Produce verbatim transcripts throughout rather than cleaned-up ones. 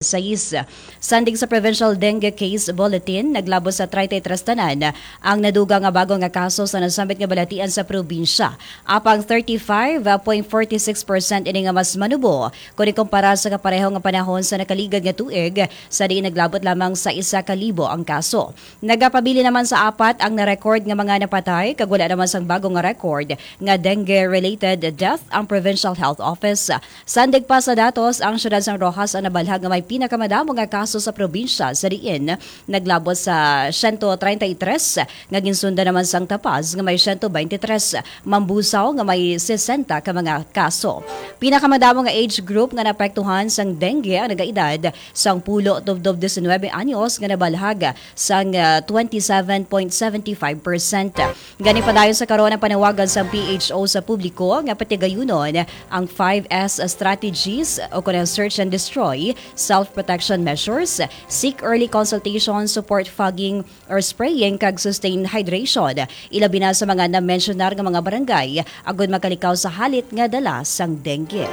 sais. Sandig sa Provincial Dengue Case Bulletin, naglabot sa treinta y tres tanan ang naduga nga bago nga kaso sa nasambit nga balatian sa probinsya. Apang thirty-five point forty-six percent ini nga mas manubo kon ikumpara sa kapareho nga panahon sa nakaligad nga tuig, sa diin naglabot lamang sa isa ka libo ang kaso. Nagapabilin naman sa apat ang na-record nga mga napatay, kag wala naman sang bago nga record nga dengue-related death ang Provincial Health Office. Sandig pa sa datos, ang siyudad sang Roxas ang nabalhag nga may pinakamadamo nga kaso sa probinsya, sa diin naglabot sa siyento treinta y tres, nga ginsundan naman sang Tapaz nga may siyento beintitres, Mambusao nga may sesenta ka mga kaso. Pinakamadamo nga age group nga naapektuhan sang dengue ang nagaedad sang pulo tubtob diecinuebe anyos, nga nabalhag sang, ah, twenty-seven point seventy-five percent. Gani, padayon sa karon ang panawagan sang P H O sa publiko nga patigayunon ang five S strategies, o kon ang search and destroy, self-protection measures, seek early consultation, support fogging or spraying, kag sustain hydration, ilabi na sa mga na-mensionar nga mga barangay, agud makalikaw sa halit nga dala sang dengue.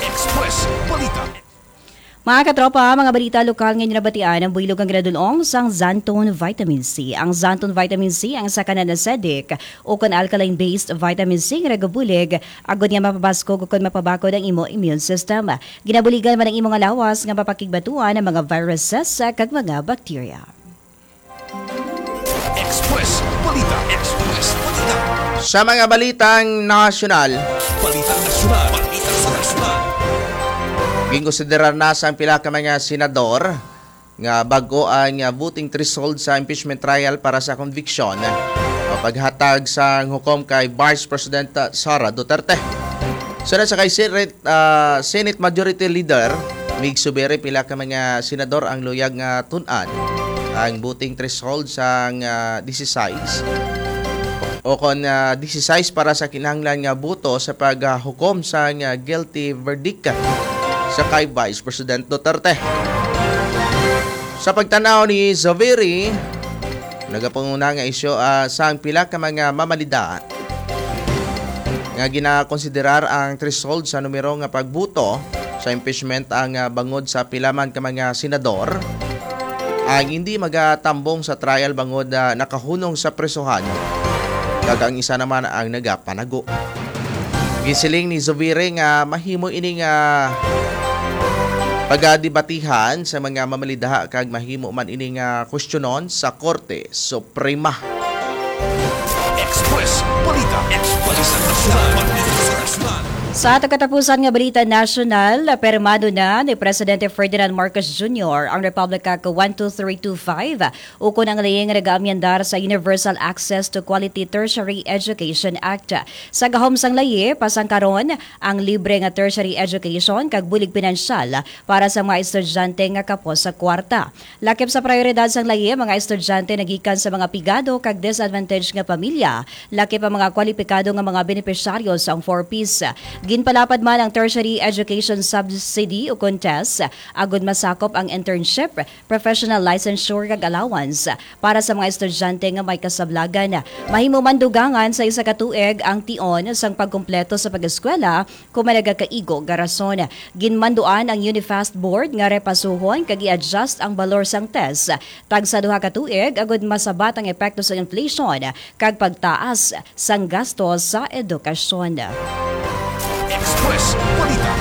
Express Balita. Mga katropa, mga balita lokal nga inyo nabatian, ang buylog ang ginadul-ong sang Xanthone Vitamin C. Ang Xanthone Vitamin C ang isa ka non-acidic o kon alkaline-based vitamin C nga nagabulig agud nga mapabaskog o kon mapabakod ang imo immune system. Ginabuligan man ang imo nga lawas nga mapakigbatuan ang mga viruses kag mga bacteria. Express Balita. Express Balita. Sa mga balitang nasyonal, Balita nasyonal. Balita sa nasyonal. Ginkonsiderar na sang pila ka mga senador nga bag-o ang, ah, voting threshold sa impeachment trial para sa conviction o paghatag sang hukom kay Vice President, ah, Sara Duterte. Sunod sa kay Senate, ah, Senate Majority Leader Mig Zubiri, pila ka mga senador ang luyag nga tun-an ang voting threshold sang, ah, dieciséis o kon, ah, dieciséis para sa kinahanglan nga boto sa paghukom sang, ah, guilty verdict sa kay Vice President Duterte. Sa pagtanaw ni Zubiri, nagapanguna nga isyu, ah, sang pila ka mga mamalida nga ginakonsiderar ang threshold sa numero nga pagbuto sa impeachment ang, ah, bangod sa pila man ka mga senador ang hindi magatambong sa trial bangod, ah, nakahunong sa presohan, kag ang isa naman ang nagapanago. Gisiling ni Zubiri nga mahimo ini nga pagadebatihan sa mga mamalida kag mahimo man ini nga kwestiyonon sa Korte Suprema. Express Balita. Express Nasyonal. Balita sa Nasyonal. Sa ato katapusan nga balita nasyonal, pirmado na ni Presidente Ferdinand Marcos Junior ang Republic Act one two three two five, ukon ang layi nga nagaamyendar sa Universal Access to Quality Tertiary Education Act. Sa gahom sang layi, pasangkaron ang libre nga tertiary education kag bulig pinansyal para sa mga estudyante nga kapos sa kwarta. Lakip sa prayoridad sang layi, mga estudyante nagikan sa mga pigado kag disadvantaged nga pamilya, lakip ang mga kwalipikado nga mga benepisyaryo sang four Ps. Ginpalapad man ang Tertiary Education Subsidy o kon TESS, agud masakop ang internship, professional licensure kag allowance para sa mga estudyante nga may kasablagan. Mahimo man dugangan sa isa ka tuig ang tion sang pagkumpleto sa pag-eskwela kon may nagakaigo nga rason. Ginmanduan ang UNIFAST Board nga repasuhon kag i-adjust ang balor sang TESS tagsa duha ka tuig agud masabat ang epekto sa inflation kag pagtaas sang gasto sa edukasyon. Express Balita.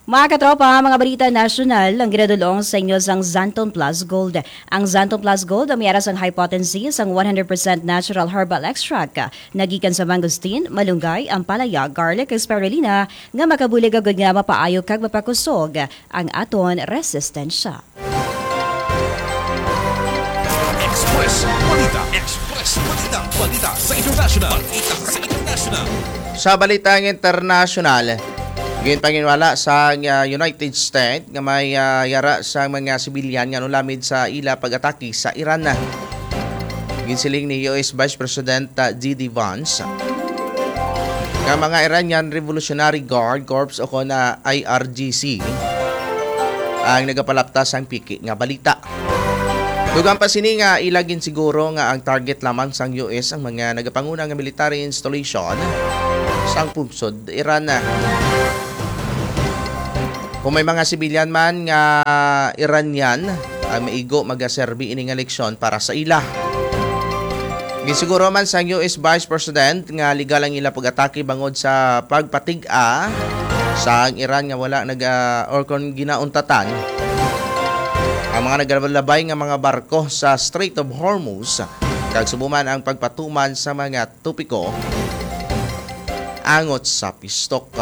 Mga katropa, mga balita nasyonal ang ginadul-ong sa inyo sang Xanthone Plus Gold. Ang Xanthone Plus Gold ang may ara sang high potency sang one hundred percent natural herbal extract. Nagikan sa mangosteen, malunggay, ampalaya, garlic, ug spirulina nga makabulig agud nga mapaayo kag mapakusog ang aton resistensya. Express Balita. Express Balita. Balita sa international. Balita sa international. Sa balitang internasyonal, ginpanginwala sa, ah, United States nga may, ah, yara sa mga sibilyan nga nulamid sa ila pag-atake sa Iran. Ginsiling ni U S Vice President, ah, J D Vance nga mga Iranian Revolutionary Guard Corps o kon, ah, I R G C ang nagapalapta sang piki nga balita. Dugang pa sini nga ila ginsiguro nga ang target lamang sang U S ang mga nagapanguna nga military installation sang pungsod Iran. Kung may mga sibilyan man nga Iranian, ang maigo magaserbi ini nga leksyon para sa ila. Ginsiguro man sang U S Vice President nga legal ang ila pag-atake bangod sa pagpatig-a sa ang Iran nga wala naga, or kon ginauntatan ang mga nagalabay nga mga barko sa Strait of Hormuz, kag subo man ang pagpatuman sa mga topiko angot sa pistok.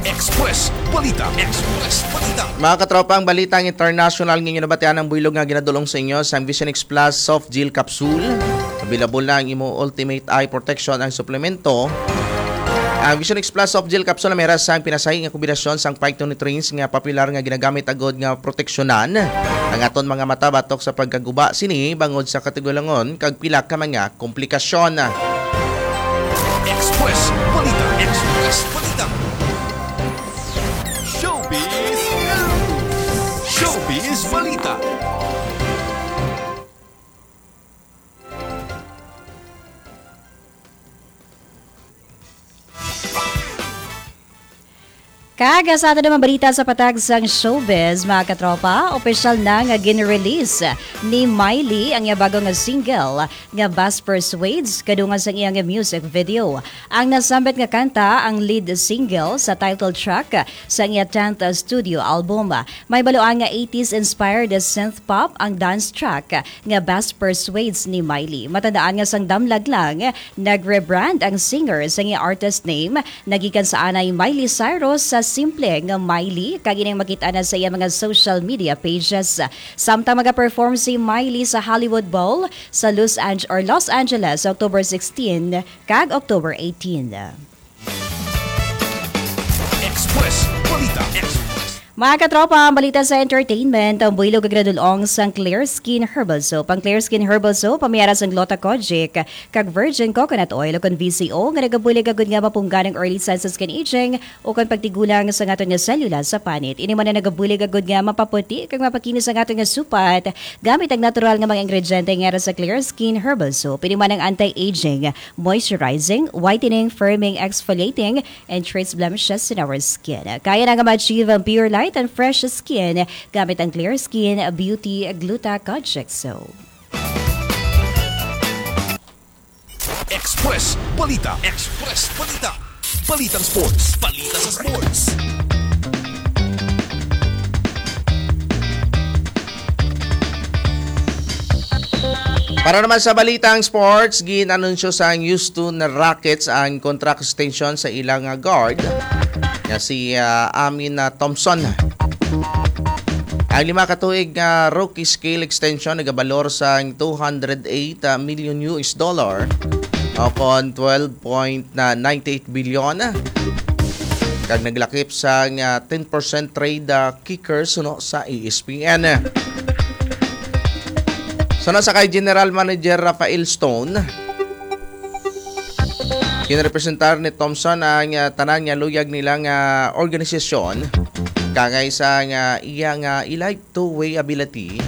Express Balita. Express Balita. Mga katropa, ang balitang international nga inyo nabatian ang buylog nga ginadulong sa inyo sang Vision X Plus Soft Gel Capsule. Available na ang imo Ultimate Eye Protection, ang suplemento. Ang Vision X Plus Soft Gel Capsule may ra sang pinasahi nga kombinasyon sang phytonutrients nga popular nga ginagamit agod nga proteksyonan ang aton mga mata batok sa pagkaguba sini bangod sa katigulangon kag pila ka mga komplikasyon. Express Balita. Express Balita. Showbiz News. Showbiz Balita. Kag sa ato naman balita sa patag sang showbiz, mga katropa, opisyal na nga gin-release ni Miley ang iya bago nga single nga Best Persuades kadungan sang iyang music video. Ang nasambit nga kanta ang lead single sa title track sa iya tenth studio album. May baluan nga eighties inspired synth pop ang dance track nga Best Persuades ni Miley. Matandaan nga sang damlag lang, nag-rebrand ang singer sa iya artist name, nagikan sa anay Miley Cyrus sa simple nga Miley, kag ining makita na sa iya mga social media pages. Samtang magaperform si Miley sa Hollywood Bowl sa Los Ange-, or Los Angeles sa October sixteen kag October eighteen. Express Balita. Express. Mga katropa, ang balita sa entertainment, ang buylog nga ginadulong sang Clear Skin Herbal Soap. Ang Clear Skin Herbal Soap, may ara sang Gluta Kojic kag virgin coconut oil o kon V C O, nga nagabulig agud nga mapunggan ang early signs sa skin aging o kon pagtigulang sa aton nga selula sa panit. Ini man ang nagabulig agud nga mapaputi kag mapakinis ang aton nga supat gamit ang natural nga mga ingrediente nga ara sa Clear Skin Herbal Soap. Ini man ang anti-aging, moisturizing, whitening, firming, exfoliating, and trace blemishes in our skin. Kaya na nga ma-achieve ang pure light and fresh skin gamit ang Clear Skin Beauty Gluta Kojic Soap. Express Balita. Express Balita. Balitang sports. Balita sa sports. Para naman sa balitang sports, gin-anunsyo sang Houston Rockets ang contract extension sa ilang, ah, guard nga si, ah, Amin, ah, Thompson. Ang lima ka tuig nga rookie scale extension nagabalor sang two hundred eight million U S dollar o kon twelve point ninety eight bilyon, kag naglakip sang, ah, ten percent trade, ah, kicker suno sa E S P N. Suno sa kay General Manager Rafael Stone, ginrepresentar ni Thompson ang, ah, tanan nga luyag nila nga organisasyon, kangay sa nga iya nga elite two-way ability,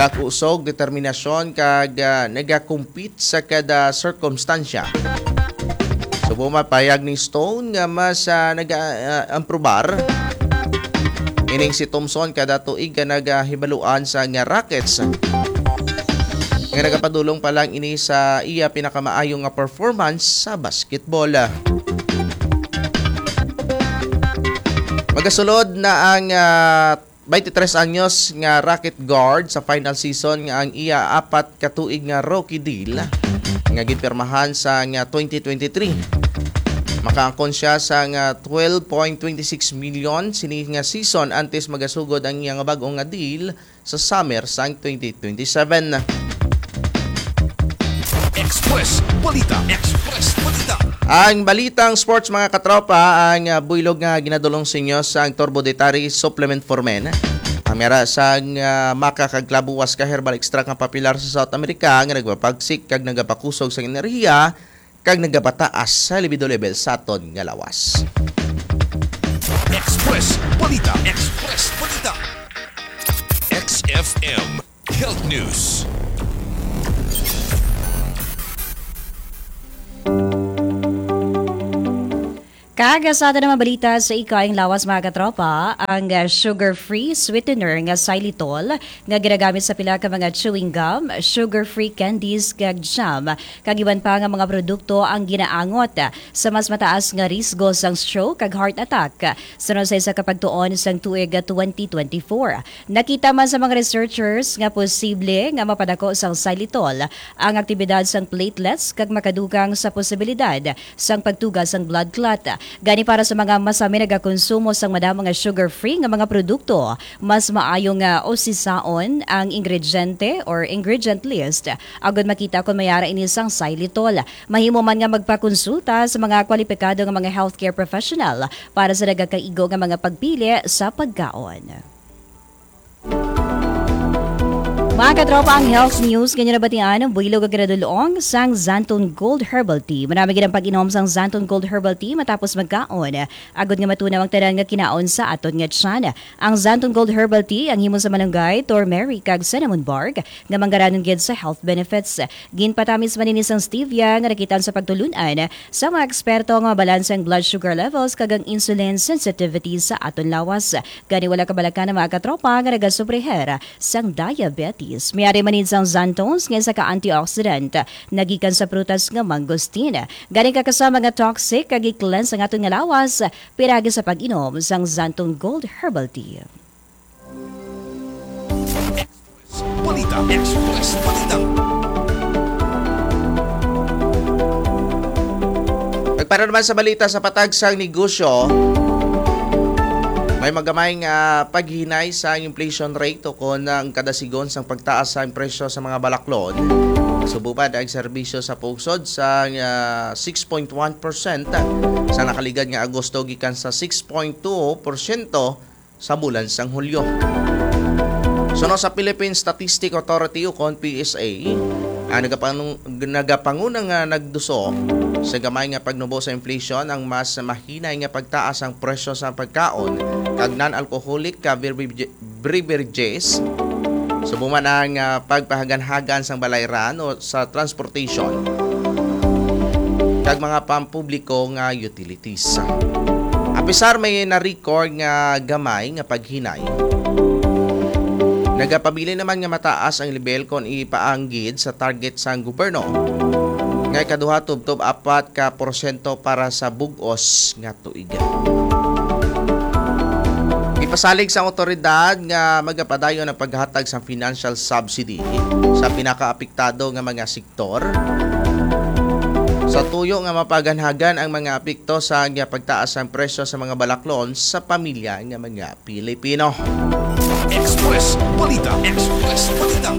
kakusog, determinasyon, kag, ah, nagakompete sa kada sirkumstansya. Subong man pahayag ni Stone nga mas, ah, naga-, ah, amprobar ining si Thompson kada tuig nga nagahibaluan sa nga Rockets, nga nagapadulong pa lang ini sa iya pinakamaayo nga performance sa basketball. Magasulod na ang, ah, twenty-three anyos nga Rocket guard sa final season nga ang iya apat ka tuig nga rookie deal nga ginpirmahan sa nga twenty twenty-three. Makaangkon siya sa nga twelve point twenty six million sini nga season antes magasugod ang iya nga bag-o nga deal sa summer sang twenty twenty-seven. Express Balita. Express Balita. Ang balitang sports, mga katropa, ang, ah, buylog nga ginadulong sa inyo sang Turbo Dietary Supplement for Men. Ang mera sang, ah, maka kag klabuwas ka herbal extract nga popular sa South America nga nagpapagsik kag nagapakusog sa enerhiya kag nagapataas sa libido level sa aton nga lawas. Express Balita. Express Balita. X F M Health News. Aga sa aton mga balita sa ikaing lawas, mga katropa, ang, ah, sugar-free sweetener nga xylitol nga ginagamit sa pila ka mga chewing gum, sugar-free candies, kag jam, kag iban pa nga mga produkto ang ginaangot sa mas mataas nga risgo sang stroke kag heart attack. Sunod sa isa ka pagtuon sang tuig twenty twenty-four, nakita man sa mga researchers nga posible nga mapadako sang xylitol ang aktibidad sang platelets kag makadugang sa posibilidad sang pagtuga sang blood clot. Gani, para sa mga masami nagakonsumo sang madamo nga sugar-free nga mga produkto, mas maayo nga usisaon ang ingrediente or ingredient list agod makita kon may ara ini sang xylitol. Mahimo man nga magpakonsulta sa mga kwalipikado nga mga healthcare professional para sa nagakaigo nga mga pagpili sa pagkaon. Mga katropa, ang health news nga inyo nabatian, ang buhilog nga ginadul-ong sang Xanthone Gold Herbal Tea. Marami gid ang pag-inom sang Xanthone Gold Herbal Tea matapos magkaon, agod nga matunaw ang tanan nga kinaon sa aton nga tiyan. Ang Xanthone Gold Herbal Tea ang himo sa malunggay, turmeric, kag cinnamon bark nga manggaranon gid sa health benefits. Ginpatamis man ini sang stevia nga nakit-an sa pagtulun-an sa mga eksperto nga mabalanse ang blood sugar levels kag ang insulin sensitivity sa aton lawas. Gani, wala kabalaka na mga katropa nga nagasufriher sang diabetes. May ari man ini sang xanthones nga isa ka antioxidant nagikan sa prutas nga mangosteen. Gani, kakasama nga toxic kag i-cleanse ang aton nga lawas, piragi sa pag-inom sang Xanthone Gold Herbal Tea. Balita Express. Balita. Ug para naman sa balita sa patag sang negosyo, may magamay nga paghinay sa inflation rate o kon ang kadasigon sang pagtaas sa presyo sa mga balaklon. Subong pa ang serbisyo sa pungsod sa, ah, six point one percent sa nakaligad nga Agosto gikan sa six point two porsyento sa bulan sang Hulyo. Suno sa Philippine Statistic Authority o kon P S A, ang nagapanu-, nagapanguna nga nagduso sa gamay nga pagnubo sa inflation ang mas mahinay nga pagtaas ang presyo sa pagkaon kag non-alcoholic ka beverage-, beverages, subong man ang, ah, pagpahaganhagan sang balayran o sa transportation kag mga pampubliko nga utilities. Apisar may na-record nga gamay nga paghinay, nagapabilin naman nga mataas ang lebel kon ipaanggid sa target sang gobyerno nga ikaduha tubtob apat ka porsyento para sa bug-os nga tuig. Ipasalig sa awtoridad nga magapadayon ang paghatag sa financial subsidy sa pinakaapektado nga mga sektor, sa tuyo nga mapaganhagan ang mga apekto sa pagtaas sang presyo sa mga balaklon sa pamilya nga mga Pilipino. Express Balita. Express Balita.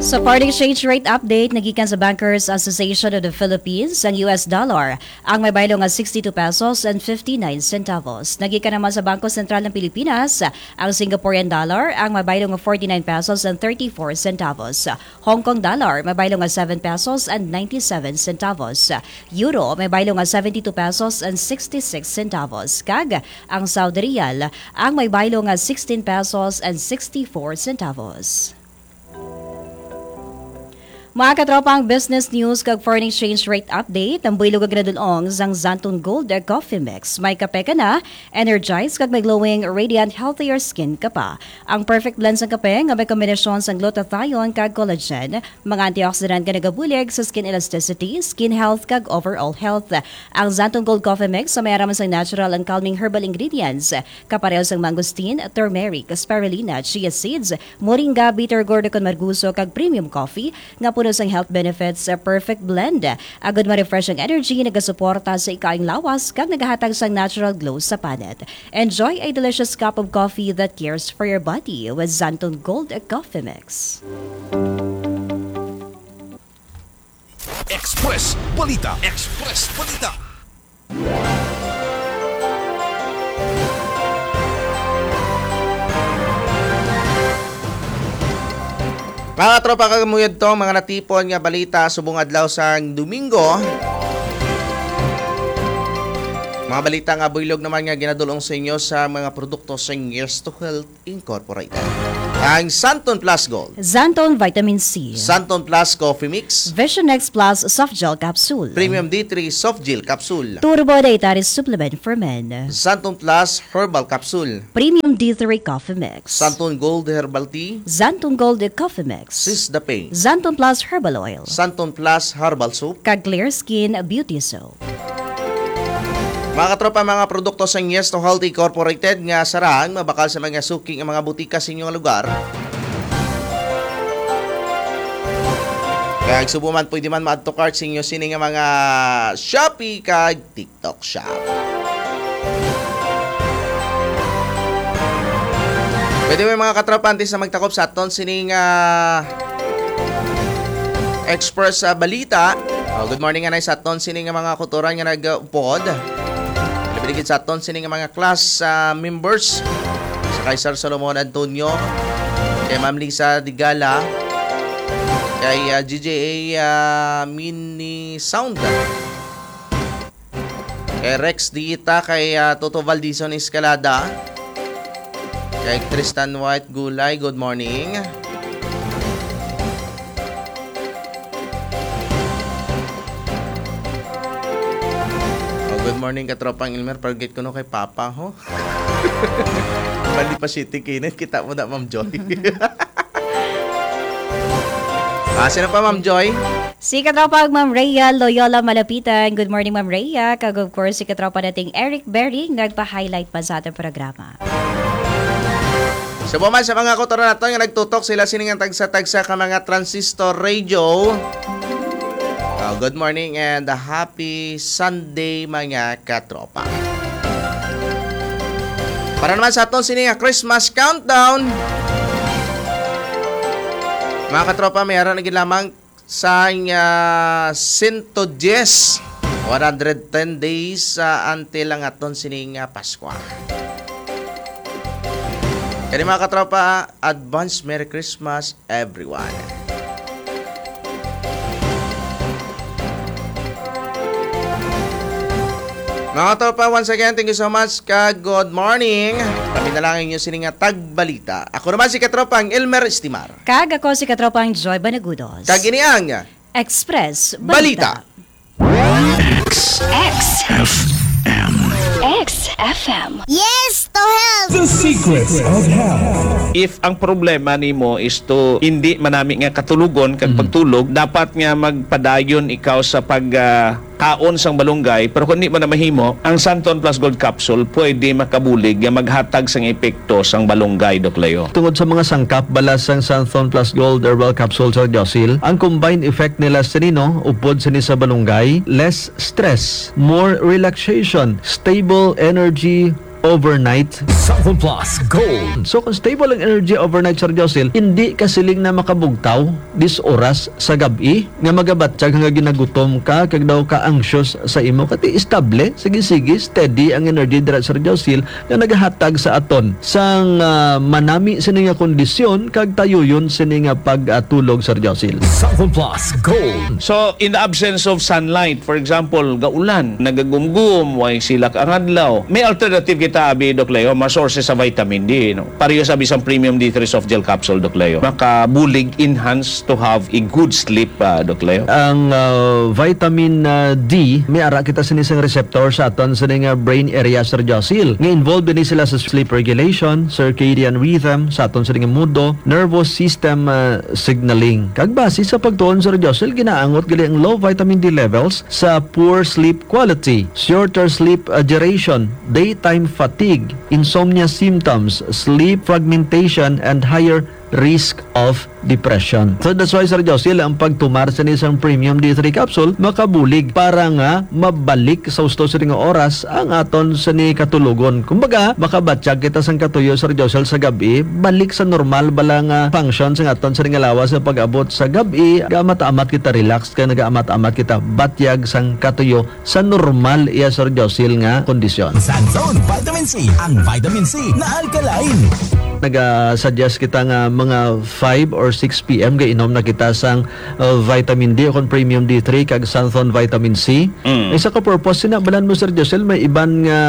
Sa foreign exchange rate update nagikan sa Bankers Association of the Philippines, ang U S dollar ang may baylo nga sixty-two pesos and fifty-nine centavos. Nagikan naman sa Bangko Sentral ng Pilipinas, ang Singaporean dollar ang may baylo nga forty-nine pesos and thirty-four centavos. Hong Kong dollar may baylo nga seven pesos and ninety-seven centavos. Euro may baylo nga seventy-two pesos and sixty-six centavos. Kag ang Saudi Riyal ang may baylo nga sixteen pesos and sixty-four centavos. Mga katropa, ang business news kag foreign exchange rate update, ang buhilog nga ginadul-ong sang Xanthone Gold Coffee Mix. May kape ka na, energized kag may glowing, radiant, healthier skin ka pa. Ang perfect blend sang kape nga may kombinasyon sang glutathione kag collagen, mga antioxidant nga nagabulig sa skin elasticity, skin health, kag overall health. Ang Xanthone Gold Coffee Mix may ara man sang natural and calming herbal ingredients, kapareho sang mangosteen, turmeric, spirulina, chia seeds, moringa, bitter gourd, kon marguso, kag premium coffee nga puno sang health benefits. A perfect blend agud ma-refresh ang energy, nagasuporta sa ikaayong lawas, kag nagahatag sang natural glow sa panit. Enjoy a delicious cup of coffee that cares for your body with Xanthone Gold Coffee Mix. Express Balita. Express Balita. Mga tropa, kag amo yadto ang mga natipon nga balita subong adlaw sang Domingo. Mga balita nga buylog naman nga ginadulong sa inyo sa mga produkto sa Yes to Health Incorporated. Ang Santon Plus Gold. Santon Vitamin C. Santon Plus Coffee Mix. Vision X Plus Soft Gel Capsule. Premium D three Soft Gel Capsule. Turbo Dietary Supplement for Men. Santon Plus Herbal Capsule. Premium D three Coffee Mix. Santon Gold Herbal Tea. Santon Gold Coffee Mix. Sis the Pain. Santon Plus Herbal Oil. Santon Plus Herbal Soap. Kag Clear Skin Beauty Soap. Mga katropa, mga produkto sa Yes to Health Incorporated nga sarang mabakal sa mga suki nga mga butika sa inyong lugar. Kaya subo man, pwede man ma-add to cart sa inyo sini nga mga Shopee kag TikTok Shop. Pwede mo, mga katropa, antes na magtakop sa aton sining ah, Express ah, Balita. Oh, good morning, anay, sa aton sining nga mga kautoran nga nag-upod. Labi na gid sa aton sining nga mga class ah, members. Sa kay Sir Solomon Antonio, kay Ma'am Lisa Digala, kay ah, G J A ah, Mini Sound. Kay Rex Diita, kay ah, Toto Valdizon Escalada, kay Tristan White Gulay, good morning. Oh, good morning, katropang Elmer. Forget ko no kay Papa, ho. Bali pa City Kinit. Kita mo na, Ma'am Joy. Ah, sino pa, Ma'am Joy? Si katropa Ma'am Rhea Loyola Malapitan. Good morning, Ma'am Rhea. Kag of course, si katropa nating Eric Berry, nagpa-highlight pa sa ating programa. Subo man sa mga kautoran naton nga nagtutok, sila sini nga tagsa-tagsa ka mga transistor radio. Ah, good morning and happy Sunday, mga katropa. Para naman sa aton sini nga Christmas countdown, mga katropa, may ara na gid lamang sa, ah, sento diyes, one hundred ten days, ah, until ang aton sini nga Paskwa. Kani, mga katropa, advance Merry Christmas, everyone. Mga katropa, once again, thank you so much, kag good morning. Kami na lang ang inyo sini nga tagbalita. Ako naman si katropang Elmer Estimar. Kag ako si katropang Joy Banagudos. Kag ini ang Express Balita. Balita. X. X. F M. X F M. Yes to health! The Secrets of Health. If ang problema nimo is to hindi manami nga katulogon kag Mhm. pagtulog, dapat nga magpadayon ikaw sa pag, ah, kaon sang balunggay, pero kung di mo na mahimo, ang Santon Plus Gold Capsule pwede makabulig nga maghatag sang epekto sang balunggay, Doc Leo. Tungod sa mga sangkap bala sang Santon Plus Gold Herbal Capsule, Sir Josil, ang combined effect nila sa nino, upod sini sa balunggay, less stress, more relaxation, stable energy overnight. Santon Plus Gold. So, kung stable ang energy overnight, Sir Josil, hindi ka siling na makabugtaw dis oras sa gab-i nga magabatyag nga ginagutom ka kag daw ka anxious sa imo, kati estable, sige-sige, steady ang energy dira, Sir Josil, nga nagahatag sa aton sang, ah, manami sini nga kondisyon kag tayuyon sini nga pagtulog, Sir Josil. Santon Plus Gold. So, in the absence of sunlight, for example, gaulan, nagagumgum, way silak ang adlaw, may alternative kita, abi, Doc Leo, mga sources sa vitamin D, no? Pareho sa bisang premium D three soft gel capsule, Doc Leo. Makabulig, enhance to have a good sleep, ah, Doc Leo. Ang, ah, vitamin, ah, D, may ara kita sini sang receptor sa aton sini nga brain area, Sir Josil, nga involved ini sila sa sleep regulation, circadian rhythm, sa aton sini nga mundo, nervous system, ah, signaling. Kag base sa pagtuon, Sir Josil, ginaangot gali ang low vitamin D levels sa poor sleep quality, shorter sleep, ah, duration, daytime fatigue, insomnia symptoms, sleep fragmentation, and higher risk of depression. So that's why, Sir Josil, ang pagtumar sini sang premium D three capsule makabulig para nga mabalik sa husto sini nga oras ang aton sini katulogon. Kumbaga, makabatyag kita sang katuyo, Sir Josil, sa gab-i, balik sa normal bala nga function sang aton sini nga lawas sa pag-abot sa gab-i, gaamat-amat kita relax kag nagaamat-amat kita batyag sang katuyo sa normal iya, Sir Josil, nga kondisyon. Santon Vitamin C, ang vitamin C na alkaline. Naga-suggest kita nga mga five or six P M gainom na kita sang, uh, vitamin D o kon premium D three kag Santhon vitamin C. Mm. Isa ka purpose sina, balan mo, Sir Josel, may iban nga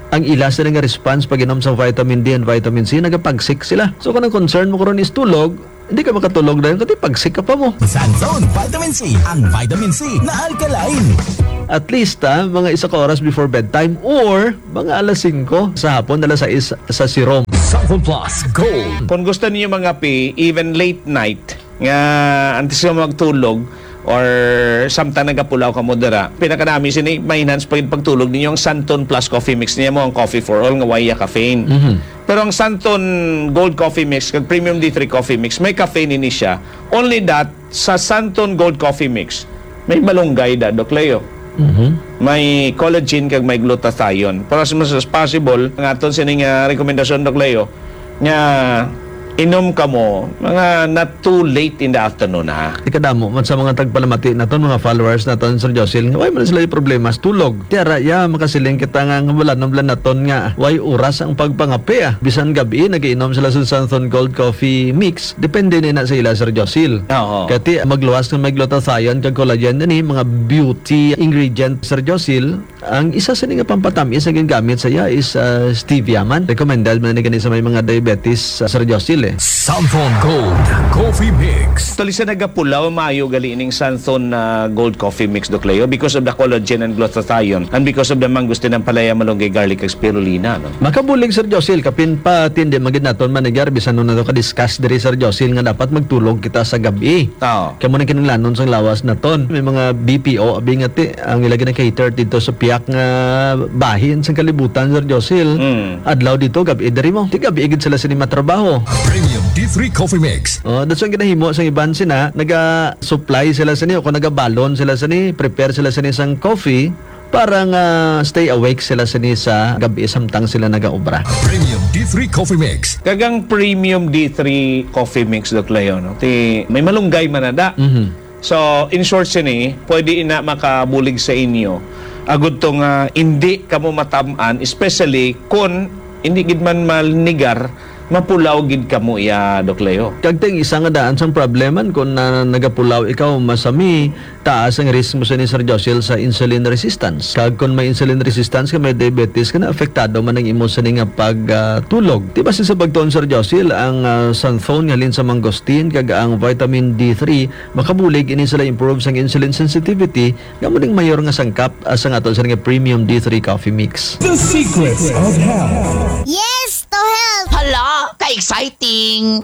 ang ila sila nga response pag inom sa vitamin D and vitamin C, nagapagsik sila. So, kung ang concern mo karon is tulog, hindi ka makatulog dayon, kati pagsik ka pa mo. Santhon Vitamin C, ang vitamin C na alkaline. At least, ah, mga isa ka oras before bedtime or mga alas singko sa hapon, alas sais sa sirom. Santhon Plus Gold. Kung gusto niyo mangape, even late night, nga antes nga magtulog, or samtang nagapulaw ka mo dira, pinakanami sini, ma-enhance pa gid pagtulog ninyo ang Santon Plus Coffee Mix niya mo, ang coffee for all nga way caffeine. Mhm. Pero ang Santon Gold Coffee Mix kag Premium D three Coffee Mix, may caffeine ini siya. Only that, sa Santon Gold Coffee Mix, may malunggay da, Doc Leo. Mhm. May collagen kag may glutathione. Pero as much as possible, ang aton sining, ah, rekomendasyon, Doc Leo, nga inom ka mo, mga not too late in the afternoon, ha? Ikadamo man sa mga tagpalamati naton, mga followers naton, Sir Josil, nga way man sila problema sa tulog. Tiara, ya, makasiling kita nga, nga wala nang naton nga way oras ang pagpangape, ah. Bisan gabi, nagiinom sila sa Santhon Gold Coffee Mix. Depende na, na sa ila, Sir Josil. Oo. Kati, magluwas nga may glutathione kag collagen, ani, mga beauty ingredient, Sir Josil. Ang isa sini nga pampatamis nga ginagamit sa iya is, ah, stevia man. Recommended man ni gani sa may mga diabetes, ah, Sir Josil, eh. Santhon Gold Coffee Mix. Actually, sa nagapulaw, maayo gali ning Santhon, ah, Gold Coffee Mix, Doc Leo, because of the collagen and glutathione and because of the mangosteen, ampalaya, malunggay, garlic, kag spirulina, no? Makabulig, Sir Josil, kapin pa tindi magid naton manigar bisan no nato ka-discuss diri, Sir Josil, nga dapat magtulog kita sa gabi. Oo. Kamo nang kinahanglanon sang lawas naton. May mga B P O, abi nga ti, ang ila gina-cater dito sa piyak nga bahin sang kalibutan, Sir Josil. Mm. Adlaw dito, gabi diri mo. Ti gabi gid sila sini matrabaho. Premium D three Coffee Mix. Oh, that's ang ginahimo sang iban sina, naga-supply sila sini o kung nagabalon sila sini, prepare sila sini sang coffee para nga stay awake sila sini sa gabi samtang sila nagaobra. Premium D three Coffee Mix. Kag ang Premium D three Coffee Mix, Doc Leo, no? Ti, may malunggay man na da. Mhm. So, in short sini, pwede ina makabulig sa inyo. Agud to nga hindi kamo matam-an, especially kun hindi gid man manigar, mapulaw gid kamo iya, Doc Leo. Kag ting isa nga daan sang problem man kun na, nagapulaw ikaw, masami, taas ang risk mo sini, Sir Josil, sa insulin resistance. Kag kun may insulin resistance ka, may diabetes ka, na apektado man ang imo sini nga pag, ah, tulog. Di ba sa pagtuon, Sir Josil, ang, ah, santhon nga halin sa mangosteen kag ang vitamin D three makabulig ini sila improve sang insulin sensitivity, nga mo ning mayor nga sangkap, ah, sa aton sini nga premium D three coffee mix. The Secrets of Health. Yes to health! Hala, ka-exciting!